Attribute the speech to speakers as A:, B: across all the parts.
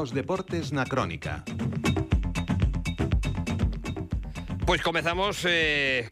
A: os deportes na Crónica.
B: Pois comezamos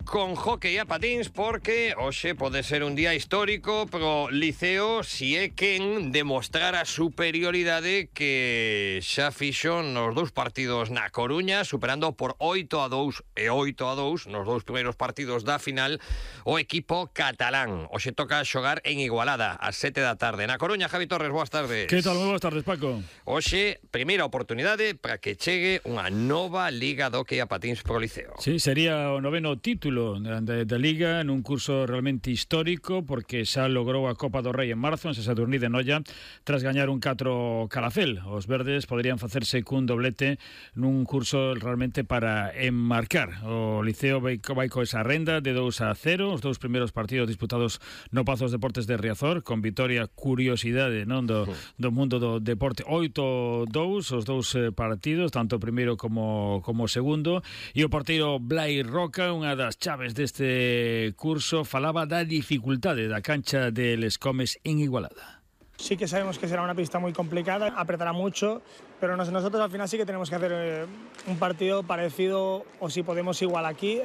B: con hockey a patins, porque hoxe pode ser un día histórico pro Liceo si é quen demostrar a superioridade que xa fixo nos dous partidos na Coruña, superando por 8-2 e 8-2 nos dous primeiros partidos da final o equipo catalán. Hoxe toca xogar en Igualada ás 7 da tarde. Na Coruña, Javi Torres, boas tardes.
C: Que tal? Moi boas tardes, Paco.
B: Hoxe, primeira oportunidade para que chegue unha nova liga de hockey a patins pro Liceo.
C: Sí, sería o noveno título da Liga nun curso realmente histórico, porque xa logrou a Copa do Rei en marzo en Sadurní de Noia tras gañar un 4 Calafel. Os verdes poderían facerse cun doblete nun curso realmente para enmarcar. O Liceo vai co esa renda de 2-0, os dous primeiros partidos disputados no Pazos Deportes de Riazor, con vitoria, curiosidade, non, do mundo do deporte, 8-2 os dous partidos, tanto o primeiro como o segundo, e o porteiro Blai Roca, unha das chaves deste curso, falaba da dificultade da cancha de Les Comes en Igualada.
D: Sí que sabemos que será una pista muy complicada, apretará mucho, pero nosotros al final sí que tenemos que hacer un partido parecido, o si podemos igual aquí.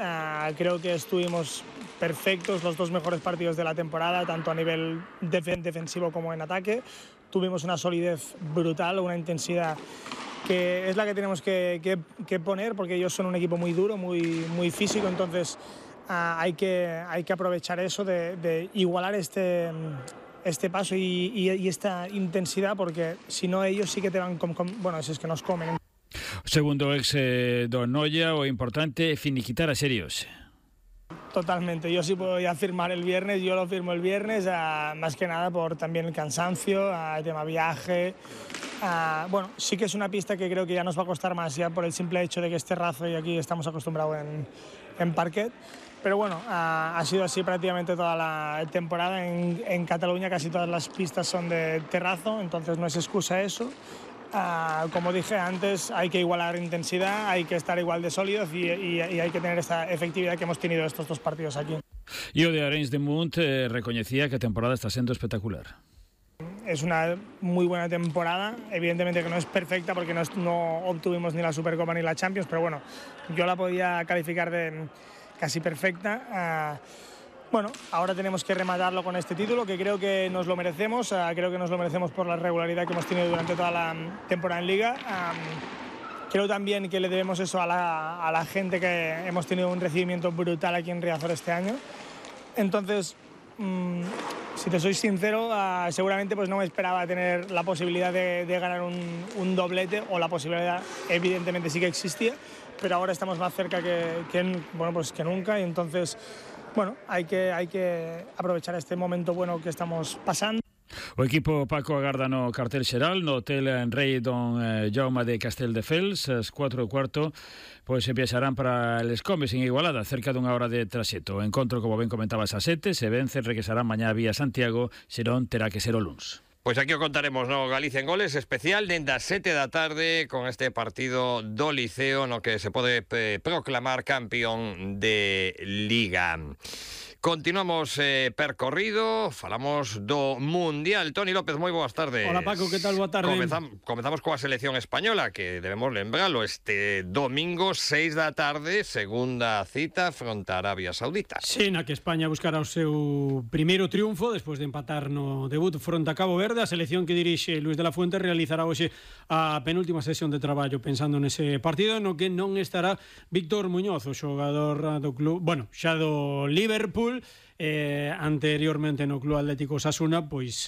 D: Creo que estuvimos perfectos los dos mejores partidos de la temporada, tanto a nivel defensivo como en ataque. Tuvimos una solidez brutal, una intensidad que es la que tenemos que poner, porque ellos son un equipo muy duro, muy físico, entonces hay que aprovechar eso de igualar este paso y esta intensidad, porque si no ellos sí que te van bueno, es que nos comen.
C: Segundo ex do Noia, o importante é finiquitar a serios.
D: Totalmente, yo sí puedo ya firmar el viernes, yo lo firmo el viernes, más que nada por también el cansancio, el tema viaje. Bueno, sí que es una pista que creo que ya nos va a costar más, ya por el simple hecho de que es terrazo y aquí estamos acostumbrados en parquet. Pero bueno, ha sido así prácticamente toda la temporada. En Cataluña casi todas las pistas son de terrazo, entonces no es excusa eso. Como dije antes, hay que igualar intensidad, hay que estar igual de sólidos y hay que tener esa efectividad que hemos tenido estos dos partidos aquí.
C: E o de Arenys de Munt recoñecía que a temporada está sendo espectacular.
D: Es una muy buena temporada, evidentemente que no es perfecta porque no obtuvimos ni la Supercopa ni la Champions, pero bueno, yo la podía calificar de casi perfecta. Bueno, ahora tenemos que rematarlo con este título, que creo que nos lo merecemos, creo que nos lo merecemos por la regularidad que hemos tenido durante toda la temporada en Liga. Creo también que le debemos eso a la gente, que hemos tenido un recibimiento brutal aquí en Riazor este año. Entonces, si te soy sincero, seguramente pues no me esperaba tener la posibilidad de ganar un doblete, o la posibilidad evidentemente sí que existía, pero ahora estamos más cerca que nunca, y entonces bueno, hay que aprovechar este momento bueno que estamos pasando.
C: O equipo Paco agarda no cartel xeral no Hotel Rei Don Jaume de Casteldefels. As 4:15 pois se viaxarán para Les Comes en Igualada, cerca dunha hora de traxecto. O encontro, como ben comentabas, a 7, se vence, regresarán mañá vía Santiago, senón terá que ser o luns.
B: Pois aquí o contaremos, no Galicia en Goles, especial dende as 7 da tarde con este partido do Liceo no que se pode proclamar campeón de Liga. Continuamos percorrido, falamos do Mundial. Toni López, moi boas tardes.
E: Hola Paco, que tal? Boa tarde.
B: Comezamos coa selección española, que debemos lembralo, este domingo 6 da tarde, segunda cita fronte a Arabia Saudita.
E: Sí, na que España buscará o seu primeiro triunfo despois de empatar no debut fronte a Cabo Verde. A selección que dirixe Luis de la Fuente realizará hoxe a penúltima sesión de traballo pensando nese partido, no que non estará Víctor Muñoz, o xogador do club, bueno, xa do Liverpool. Anteriormente no Club Atlético Osasuna, pois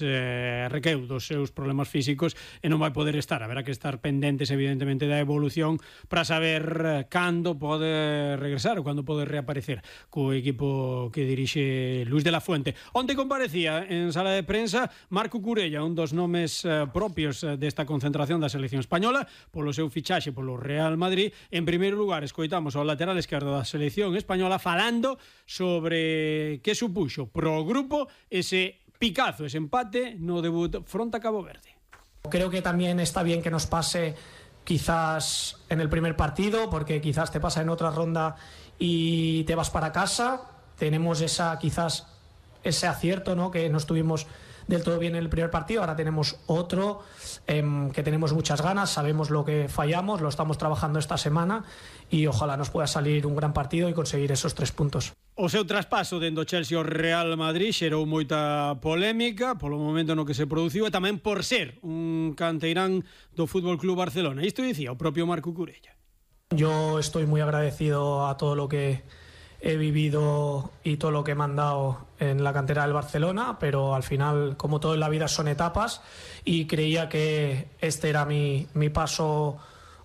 E: requeu dos seus problemas físicos e non vai poder estar. Haberá que estar pendentes evidentemente da evolución para saber cando pode regresar ou cando pode reaparecer co equipo que dirixe Luis de la Fuente. Onte comparecía en sala de prensa Marco Curella, un dos nomes propios desta concentración da selección española polo seu fichaxe polo Real Madrid. En primeiro lugar, escoitamos ao lateral esquerdo da selección española falando sobre que supuxo pro grupo ese picazo, ese empate no debut fronte a Cabo Verde.
F: Creo que también está bien que nos pase quizás en el primer partido, porque quizás te pasa en otra ronda y te vas para casa. Tenemos quizás ese acierto, ¿no?, que no estuvimos del todo bien en el primer partido, ahora tenemos otro que tenemos muchas ganas, sabemos lo que fallamos, lo estamos trabajando esta semana y ojalá nos pueda salir un gran partido y conseguir esos 3 puntos.
E: O seu traspaso dentro Chelsea ao Real Madrid xerou moita polémica polo momento no que se produciu e tamén por ser un canteirán do Fútbol Club Barcelona. Isto dicía o propio Marco Curella.
F: Yo estoy muy agradecido a todo lo que he vivido y todo lo que me han dado en la cantera del Barcelona, pero al final, como todo en la vida, son etapas y creía que este era mi paso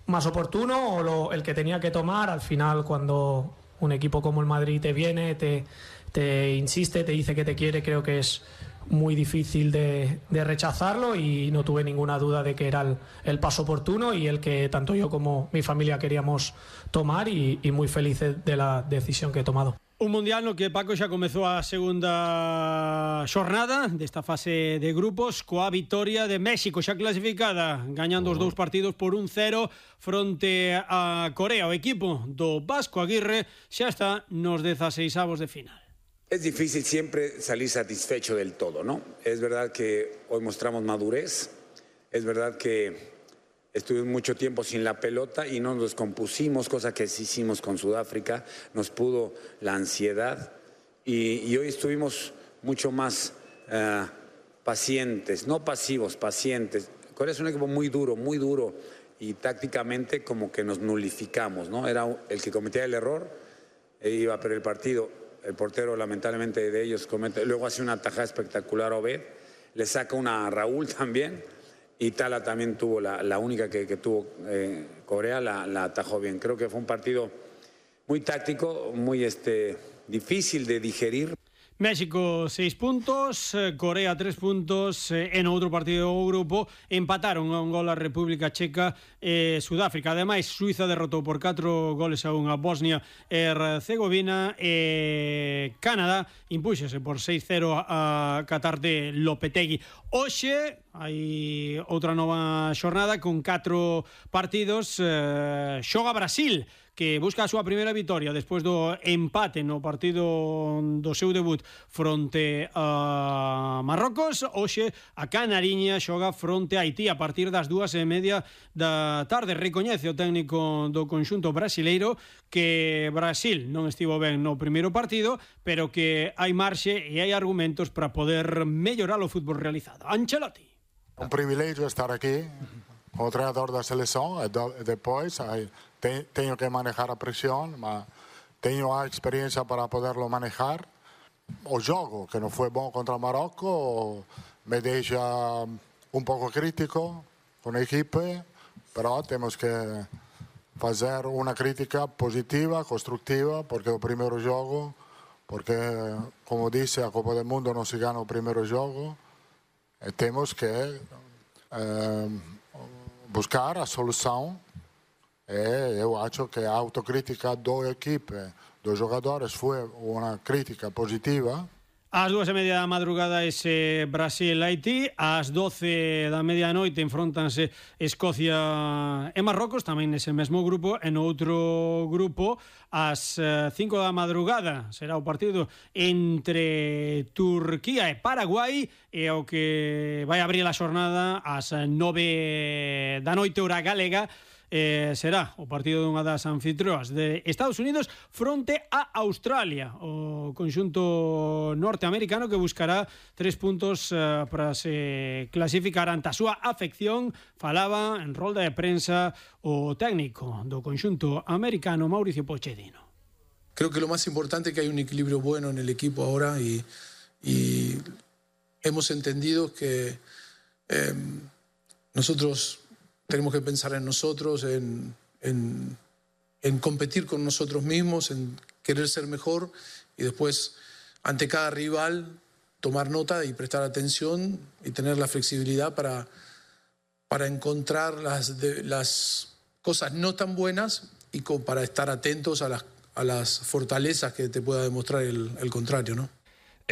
F: más oportuno o el que tenía que tomar. Al final, cuando un equipo como el Madrid te viene, te insiste, te dice que te quiere, creo que es muy difícil de rechazarlo y no tuve ninguna duda de que era el paso oportuno y el que tanto yo como mi familia queríamos tomar y muy felices de la decisión que he tomado.
E: Un mundial no que Paco xa comezou a segunda xornada desta fase de grupos coa vitoria de México xa clasificada, gañando os 2 partidos por 1-0 fronte a Corea. O equipo do Vasco Aguirre xa está nos 16avos de final.
G: Es difícil siempre salir satisfecho del todo, ¿no? Es verdad que hoy mostramos madurez, es verdad que estuvimos mucho tiempo sin la pelota y no nos descompusimos, cosa que sí hicimos con Sudáfrica, nos pudo la ansiedad y hoy estuvimos mucho más pacientes, no pasivos, pacientes. Corea es un equipo muy duro y tácticamente como que nos nulificamos, ¿no? Era el que cometía el error e iba a perder el partido. El portero, lamentablemente, de ellos comete. Luego hace una tajada espectacular a Obed. Le saca una a Raúl también. Y Tala también tuvo la única que tuvo Corea, la atajó bien. Creo que fue un partido muy táctico, muy difícil de digerir.
E: México 6 puntos, Corea 3 puntos, en outro partido do grupo empataron a un gol a República Checa e Sudáfrica. Ademais, Suiza derrotou por 4 goles a 1 a Bosnia e Herzegovina e Canadá impúxose por 6-0 a Qatar de Lopetegui. Hoxe hai outra nova xornada con 4 partidos. Xoga Brasil, que busca a súa primeira vitoria despois do empate no partido do seu debut fronte a Marrocos. Hoxe a Canariña xoga fronte a Haití a partir das 2:30 da tarde. Recoñece o técnico do conxunto brasileiro que Brasil non estivo ben no primeiro partido, pero que hai marxe e hai argumentos para poder mellorar o fútbol realizado. Ancelotti.
H: Un privilegio estar aquí como treinador da seleção e depois tenho que manejar a presión, mas tenho a experiencia para poderlo manejar. O jogo, que non foi bom contra o Marocco, me deixa un pouco crítico con a equipe, pero temos que fazer unha crítica positiva, constructiva, porque o primeiro jogo, porque, como dice, a Copa do Mundo non se gana o primeiro jogo, e temos que buscar a solução. Eu acho que a autocrítica da equipe, dos jogadores, foi uma crítica positiva.
E: Ás 2:30 da madrugada ese Brasil-Haití, ás 12 da medianoite enfróntanse Escocia e Marrocos, tamén nese mesmo grupo. En outro grupo, ás 5 da madrugada será o partido entre Turquía e Paraguai, e o que vai abrir a xornada ás 9 da noite hora galega. Será o partido dunha das anfitrioas de Estados Unidos fronte a Australia, o conxunto norteamericano que buscará 3 puntos para se clasificar ante a súa afección. Falaba en rolda de prensa o técnico do conxunto americano, Mauricio Pochettino.
I: Creo que lo más importante es que hay un equilibrio bueno en el equipo ahora y hemos entendido que nosotros tenemos que pensar en nosotros, en competir con nosotros mismos, en querer ser mejor y después, ante cada rival, tomar nota y prestar atención y tener la flexibilidad para encontrar las cosas no tan buenas y para estar atentos a las fortalezas que te pueda demostrar el contrario, ¿no?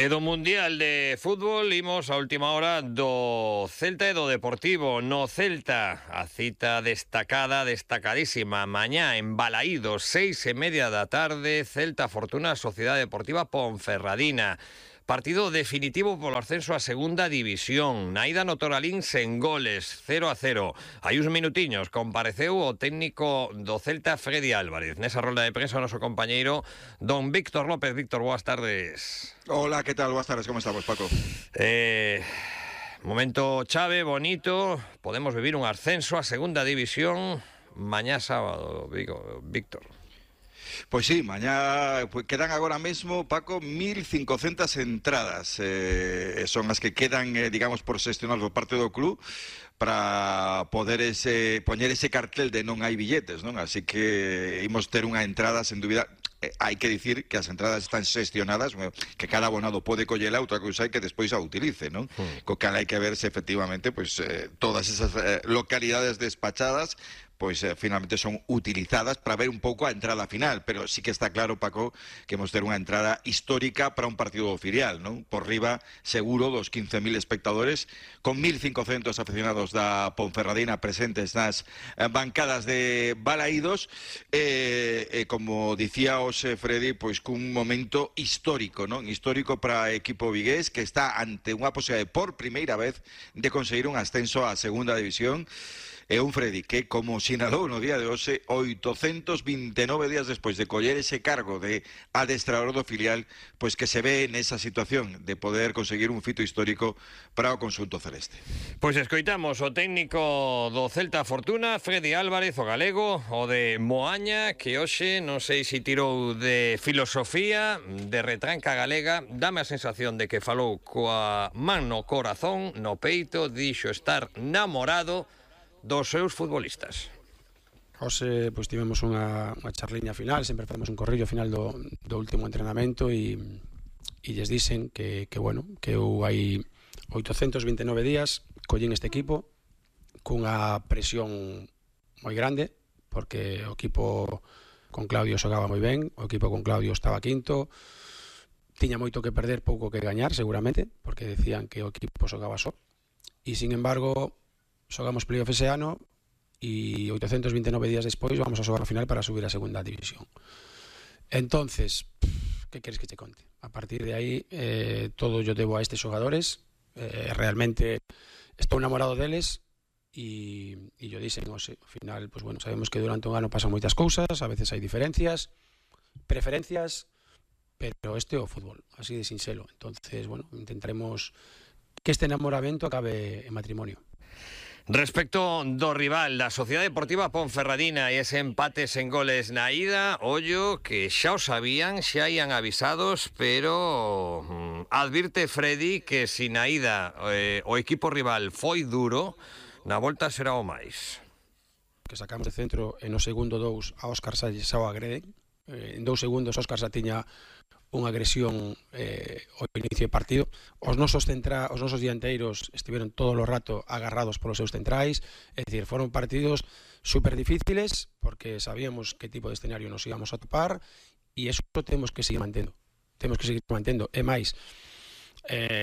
B: E do Mundial de Fútbol imos a última hora do Celta e do Deportivo. No Celta, a cita destacadísima, mañá en Balaídos, 6:30 da tarde, Celta Fortuna, Sociedade Deportiva Ponferradina. partido definitivo polo ascenso a segunda división. Na ida no Toralín sen goles, 0-0. Hai uns minutiños compareceu o técnico do Celta, Freddy Álvarez. Nesa rolda de prensa o noso compañeiro don Víctor López. Víctor, boas tardes.
J: Hola, ¿qué tal? Buenas tardes, ¿cómo estamos, Paco?
B: Momento chave, bonito. Podemos vivir un ascenso a segunda división mañá sábado, Víctor.
J: Pues sí, mañá quedan agora mesmo, Paco, 1.500 entradas. Son as que quedan, digamos, por xestionar por parte do club para poder poñer ese cartel de non hai billetes, non? Así que imos ter unha entrada, sen dúbida. Hai que dicir que as entradas están xestionadas, que cada abonado pode collela, outra cousa é que despois a utilice, non? Co cal hai que ver se efectivamente todas esas localidades despachadas finalmente son utilizadas para ver un pouco a entrada final, pero sí que está claro, Paco, que hemos ter unha entrada histórica para un partido filial, non? Por riba, seguro, dos 15.000 espectadores, con 1.500 aficionados da Ponferradina presentes nas bancadas de Balaídos, como dicía hoxe Freddy, pois cun momento histórico, non? Histórico para o equipo vigués, que está ante unha posibilidade por primeira vez de conseguir un ascenso á segunda división. É un Freddy que, como sinalou no día de hoxe, 829 días despois de coller ese cargo de adestrador do filial, pois que se ve nesa situación de poder conseguir un fito histórico para o conxunto celeste.
B: Pois escoitamos o técnico do Celta Fortuna, Freddy Álvarez, o galego, o de Moaña, que hoxe non sei se tirou de filosofía, de retranca galega. Dame a sensación de que falou coa man no corazón, no peito, dixo estar namorado dos seus futbolistas.
K: Hoxe tivemos unha charliña final, sempre facemos un corrillo final do último entrenamento e lles dixen que eu hai 829 días collín este equipo cunha presión moi grande, porque o equipo con Claudio xogaba moi ben, o equipo con Claudio estaba quinto, tiña moito que perder, pouco que gañar seguramente, porque decían que o equipo xogaba só, e sin embargo xogamos playoff ese ano e 829 días despois vamos a xogar a final para subir a segunda división. Entonces, que queres que te conte? A partir de aí, todo yo debo a estes xogadores. Realmente estou enamorado deles e yo dixen, ao final, sabemos que durante un ano pasan moitas cousas, a veces hai diferencias, preferencias, pero este é o fútbol, así de sinxelo. Entonces, intentaremos que este enamoramento acabe en matrimonio.
B: Respecto do rival, da Sociedade Deportiva Ponferradina e ese empate sen goles na ida, ollo que xa o sabían, xa ian avisados, pero advirte Freddy que si na ida o equipo rival foi duro, na volta será o máis.
K: Que sacamos de centro e no segundo 2 a Óscar Salles xa o agreden. En 2 segundos Óscar xa tiña unha agresión ao inicio do partido. Os nosos dianteiros estiveron todo o rato agarrados polos seus centrais, é dicir, foron partidos super difíciles porque sabíamos que tipo de escenario nos íbamos a topar e eso temos que seguir mantendo. E máis,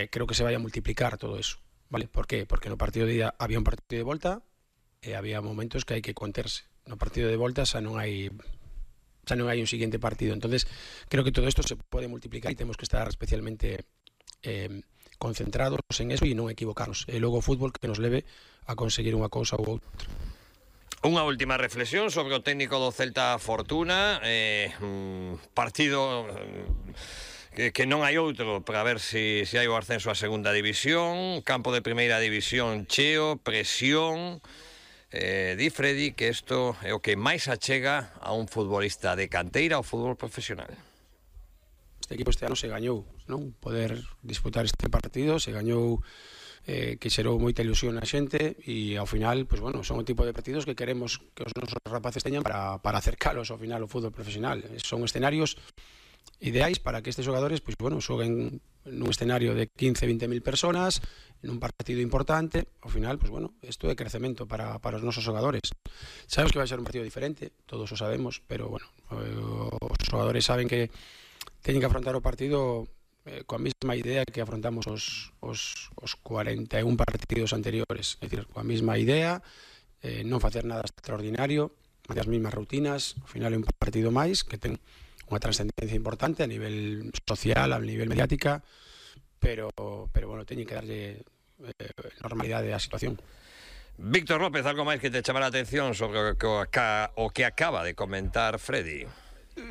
K: creo que se vai a multiplicar todo eso, vale? Por qué? Porque no partido de ida había un partido de volta e había momentos que hai que conterse. No partido de volta xa non hai un siguiente partido. Entonces, creo que todo esto se puede multiplicar y tenemos que estar especialmente concentrados en eso y non equivocarnos. E logo o fútbol que nos leve a conseguir unha cousa ou outra.
B: Unha última reflexión sobre o técnico do Celta Fortuna, partido que non hai outro para ver se hai o ascenso a segunda división, campo de primeira división cheo, presión. Di Freddy que isto é o que máis achega a un futbolista de canteira ao fútbol profesional.
K: Este equipo este ano se gañou, non? Poder disputar este partido, se gañou, que xerou moita ilusión na xente e ao final, son o tipo de partidos que queremos que os nosos rapaces teñan para acercalos ao final ao fútbol profesional. Son escenarios ideais para que estes xogadores xoguen nun escenario de 15-20.000 personas, en un partido importante. Ao final, isto é crecemento para os nosos xogadores. Sabemos que vai ser un partido diferente, todos o sabemos, pero os xogadores saben que teñen que afrontar o partido coa mesma idea que afrontamos os 41 partidos anteriores, é dicir, coa mesma idea, non facer nada extraordinario, as mesmas rutinas. Ao final é un partido máis que ten unha trascendencia importante a nivel social, a nivel mediática, pero bueno, teñen que darlle normalidade á situación.
B: Víctor López, algo máis que te chama a atención sobre o que acaba de comentar Freddy?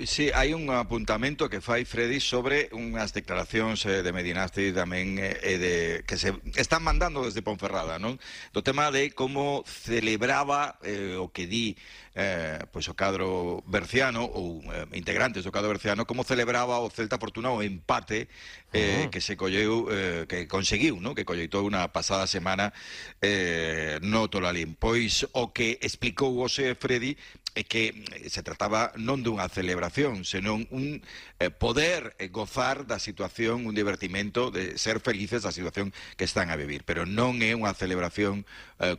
J: Sí, hai un apuntamento que fai Freddy sobre unhas declaracións de Medinasti tamén que se están mandando desde Ponferrada, non? Do tema de como celebraba o que di pois o cadro berciano ou integrantes do cadro berciano, como celebraba o Celta Fortuna o empate que se colleu, que conseguiu, non? Que colleitou unha pasada semana no Tolalín. Pois o que explicou hoxe Freddy é que se trataba non dunha celebración, senón un poder gozar da situación, un divertimento de ser felices da situación que están a vivir. Pero non é unha celebración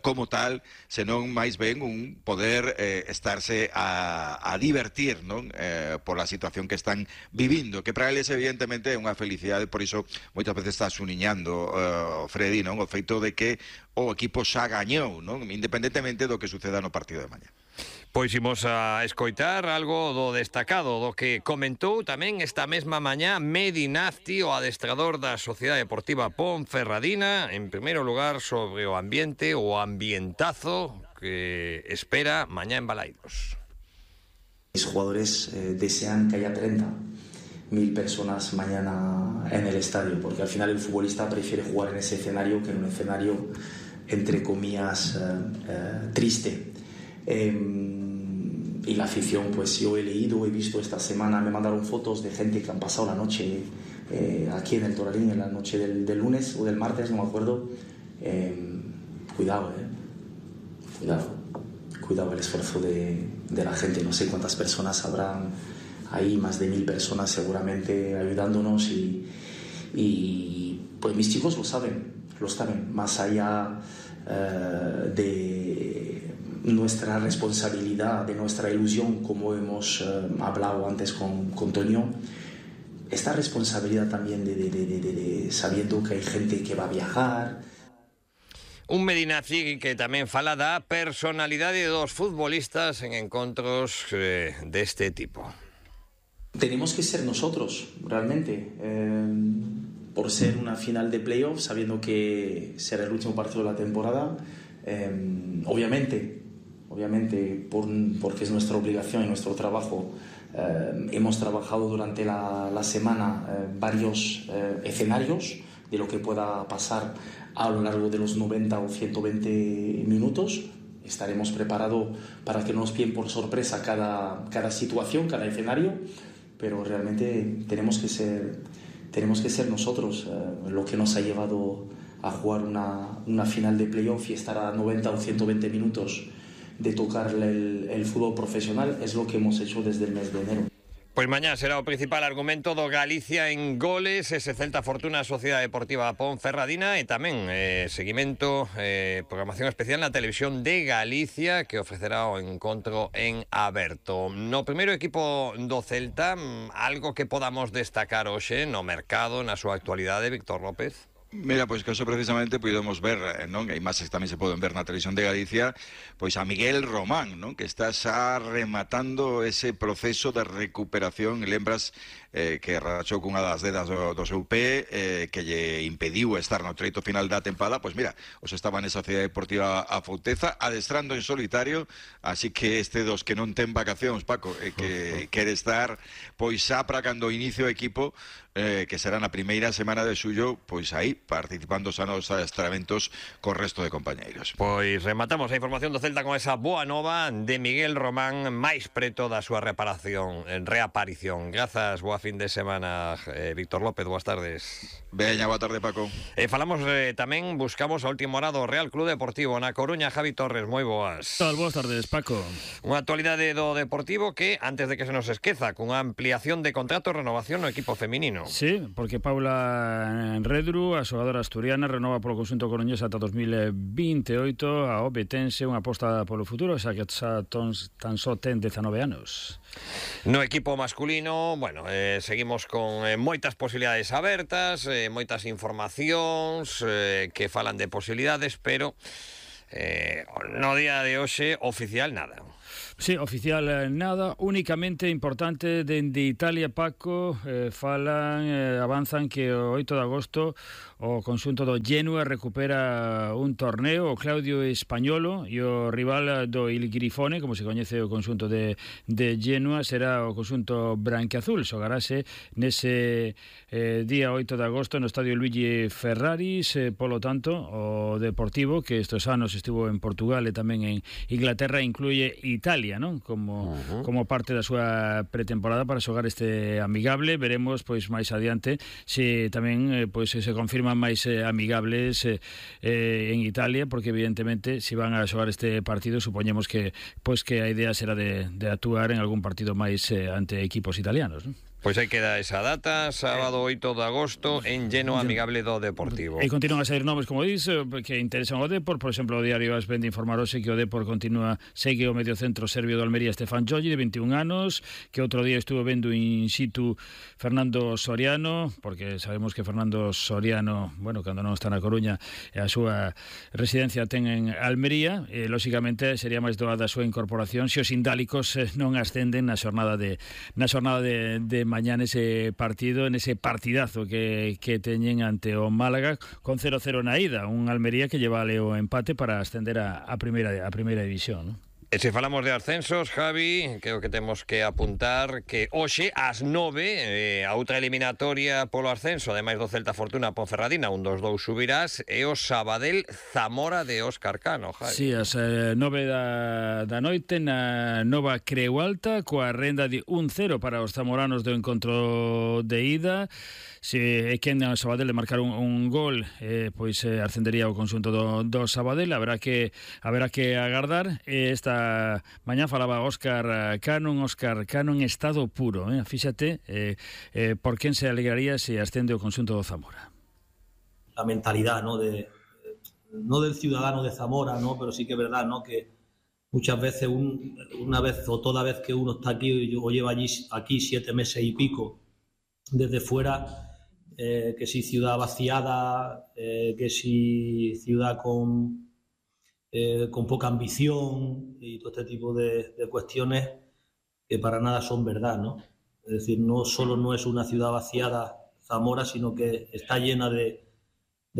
J: como tal, senón máis ben un poder estarse a divertir, non? Pola situación que están vivindo, que para eles evidentemente é unha felicidade, por iso moitas veces está suniñando Freddy, non? O feito de que o equipo xa gañou, non? Independentemente do que suceda no partido de mañá.
B: Pois imos a escoitar algo do destacado do que comentou tamén esta mesma mañá Medinasti, o adestrador da Sociedade Deportiva Ponferradina, en primeiro lugar sobre o ambiente, o ambientazo que espera mañá en Balaidos.
L: Los jugadores desean que haya 30.000 personas mañana en el estadio, porque al final el futbolista prefiere jugar en ese escenario que en un escenario, entre comillas, triste. Y la afición, pues yo he leído, he visto esta semana, me mandaron fotos de gente que han pasado la noche aquí en el Tolalín, en la noche del lunes o del martes, no me acuerdo. Cuidado el esfuerzo de la gente. No sé cuántas personas habrán ahí, más de 1.000 personas seguramente ayudándonos, y pues mis chicos lo saben, más allá de nuestra responsabilidad, de nuestra ilusión, como hemos hablado antes con Toño, esta responsabilidad también de sabiendo que hay gente que va a viajar.
B: Un Medinasti que tamén fala da personalidade de dos futbolistas en encontros deste tipo.
L: Tenemos que ser nosotros, realmente, por ser una final de playoff, sabiendo que será el último partido de la temporada. Obviamente, porque es nuestra obligación y nuestro trabajo. Hemos trabajado durante la semana varios escenarios de lo que pueda pasar a lo largo de los 90 o 120 minutos. Estaremos preparados para que no nos pillen por sorpresa cada situación, cada escenario, pero realmente tenemos que ser nosotros lo que nos ha llevado a jugar una final de playoff y estar a 90 o 120 minutos de tocar el fútbol profesional. Es lo que hemos hecho desde el mes de enero.
B: Pois mañá será o principal argumento do Galicia en goles, ese Celta Fortuna Sociedade Deportiva Ponferradina, e tamén seguimento, programación especial na televisión de Galicia que ofrecerá o encontro en aberto. No primeiro equipo do Celta, algo que podamos destacar hoxe no mercado, na súa actualidade, Víctor López?
J: Mira, pois que eso precisamente podemos ver, non? E imaxes tamén se poden ver na televisión de Galicia, pois a Miguel Román, non? Que está xa rematando ese proceso de recuperación. Lembras que rachou cunha das dedas do seu pé, que lle impediu estar no treito final da tempada. Pois mira, os estaba nesa Sociedade Deportiva a Fouteza adestrando en solitario, así que este dos que non ten vacacións, Paco, que quere estar pois xa para cando inicio o equipo, que será na primeira semana de xullo, pois aí participando xa nos adestramentos co resto de compañeiros.
B: Pois rematamos a información do Celta con esa boa nova de Miguel Román máis preto da súa reaparición. Grazas, boa fin de semana, Víctor López, boas tardes.
J: Veña, boa tarde, Paco.
B: Falamos tamén, buscamos a última hora do Real Club Deportivo na Coruña. Javi Torres, moi boas.
C: Boas tardes, Paco.
B: Unha actualidade do Deportivo que, antes de que se nos esqueza, cunha ampliación de contrato e renovación no equipo feminino.
C: Sí, porque Paula Redru, a xogadora asturiana, renova polo conxunto coruñés ata 2028. A Obetense, unha aposta polo futuro, xa que tan só ten 19 anos.
B: No equipo masculino, bueno, seguimos con moitas posibilidades abertas, moitas informacións que falan de posibilidades, pero no día de hoxe oficial nada.
C: Sí, oficial nada, únicamente importante dende Italia, Paco, avanzan que o 8 de agosto o conxunto do Genoa recupera un torneo, o Claudio Españolo, e o rival do Il Grifone, como se coñece o conxunto de Genoa, será o conxunto branquiazul. Xogarase nese día 8 de agosto no estadio Luigi Ferraris, polo tanto, o Deportivo, que estes anos estivo en Portugal e tamén en Inglaterra, incluye Italia, ¿no? Como parte da súa pretemporada para xogar este amigable. Veremos pois máis adiante se tamén pois se confirman máis amigables en Italia, porque evidentemente se van a xogar este partido supoñemos que pois que a idea será de actuar en algún partido máis ante equipos italianos, ¿no?
B: Pois aí queda esa data, sábado 8 de agosto en Genoa amigable do Deportivo.
C: E continúan a sair nomes, como dis, que interesan ao Depor. Por exemplo, o diario AS ven de informar hoxe que o Depor segue o mediocentro serbio do Almería Stefan Jogi, de 21 anos, que outro día estuvo vendo in situ Fernando Soriano, porque sabemos que Fernando Soriano, bueno, cando non está na Coruña, a súa residencia ten en Almería, e lóxicamente sería máis doada a súa incorporación se os indálicos non ascenden na xornada de mañá nese partido, nese partidazo que teñen ante o Málaga con 0-0 na ida, un Almería que lleva o empate para ascender a primeira división, ¿no?
B: E se falamos de ascensos, Javi, creo que temos que apuntar que hoxe ás 9 a outra eliminatoria polo ascenso, ademais do Celta Fortuna Ponferradina, un dos dous subirás, e o Sabadell Zamora de Óscar Cano, Javi.
C: Sí, ás 9 da noite na Nova Creu Alta, coa renda de 1-0 para os zamoranos do encontro de ida. Se é quen o Sabadell de marcar un gol, pois ascendería o conxunto do Sabadell. Haberá que agardar. Esta mañá falaba Óscar Cano en estado puro, fíxate por quen se alegraría se ascende o conxunto do Zamora.
M: La mentalidad, ¿no? No del ciudadano de Zamora, ¿no? Pero sí que es verdad, ¿no? Que muchas veces, una vez o toda vez que uno está aquí o lleva aquí 7 meses y pico desde fuera, que si ciudad vaciada, que si ciudad con poca ambición y todo este tipo de cuestiones que para nada son verdad, ¿no? Es decir, no solo no es una ciudad vaciada Zamora, sino que está llena de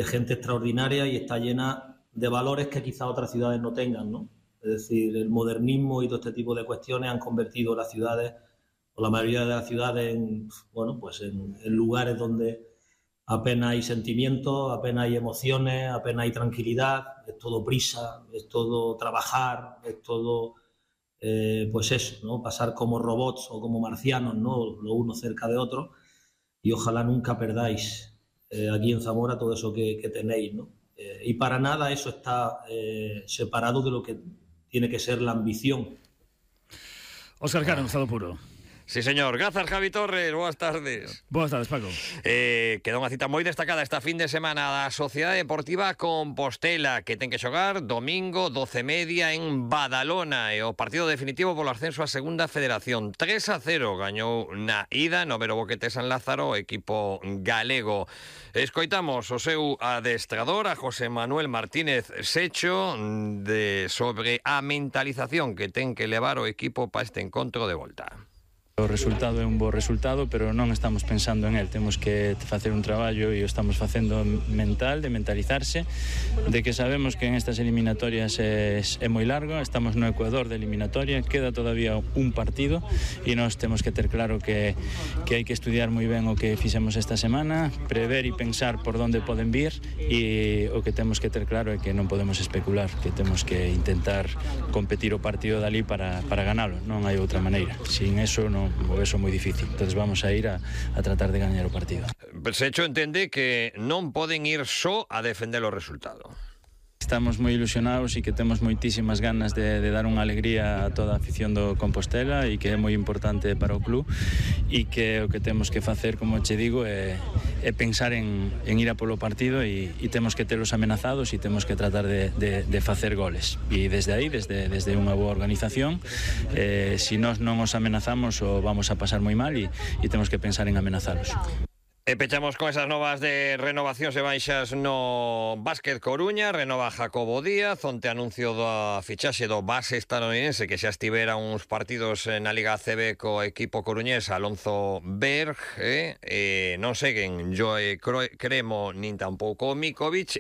M: gente extraordinaria y está llena de valores que quizá otras ciudades no tengan, ¿no? Es decir, el modernismo y todo este tipo de cuestiones han convertido las ciudades, o la mayoría de las ciudades, en lugares donde apenas hay sentimientos, apenas hay emociones, apenas hay tranquilidad, es todo prisa, es todo trabajar, es todo, pues eso, ¿no? Pasar como robots o como marcianos, ¿no? Lo uno cerca de otro, y ojalá nunca perdáis aquí en Zamora todo eso que tenéis, ¿no? Y para nada eso está separado de lo que tiene que ser la ambición.
C: Óscar Cano, estado puro.
B: Sí, señor. Grazas, Javi Torres. Boas tardes.
C: Boas tardes, Paco.
B: Queda unha cita moi destacada esta fin de semana da Sociedade Deportiva Compostela, que ten que xogar domingo 12:30 en Badalona, e o partido definitivo polo ascenso a Segunda Federación. 3-0 gañou na ida no Vero Boquete San Lázaro o equipo galego. Escoitamos o seu adestrador, a José Manuel Martínez Secho, sobre a mentalización que ten que levar o equipo para este encontro de volta.
N: O resultado é un bo resultado, pero non estamos pensando en el. Temos que facer un traballo e o estamos facendo mental, de mentalizarse, de que sabemos que en estas eliminatorias é moi largo, estamos no Ecuador de eliminatoria, queda todavía un partido e nós temos que ter claro que hai que estudiar moi ben o que fixemos esta semana, prever e pensar por onde poden vir, e o que temos que ter claro é que non podemos especular, que temos que intentar competir o partido dali para ganalo, non hai outra maneira. Sin eso non o eso é moi difícil, entonces vamos a ir a tratar de gañar o partido.
B: Secho entende que non poden ir só a defender o resultado.
N: Estamos moi ilusionados e que temos moitísimas ganas de dar unha alegría a toda a afición do Compostela e que é moi importante para o club, e que o que temos que facer, como che digo, é pensar en ir a polo partido, e temos que telos amenazados e temos que tratar de facer goles, e desde aí, desde unha boa organización, se nós non os amenazamos o vamos a pasar moi mal, e temos que pensar en amenazalos.
B: Pechamos con esas novas de renovacións e baixas no Básquet Coruña. Renova Jacobo Díaz, onte anuncio da fichaxe do base estadounidense que xa estivera uns partidos na Liga ACB co equipo coruñés, Alonso Berg, non seguen Joe Cremo nin tampouco Mikovic,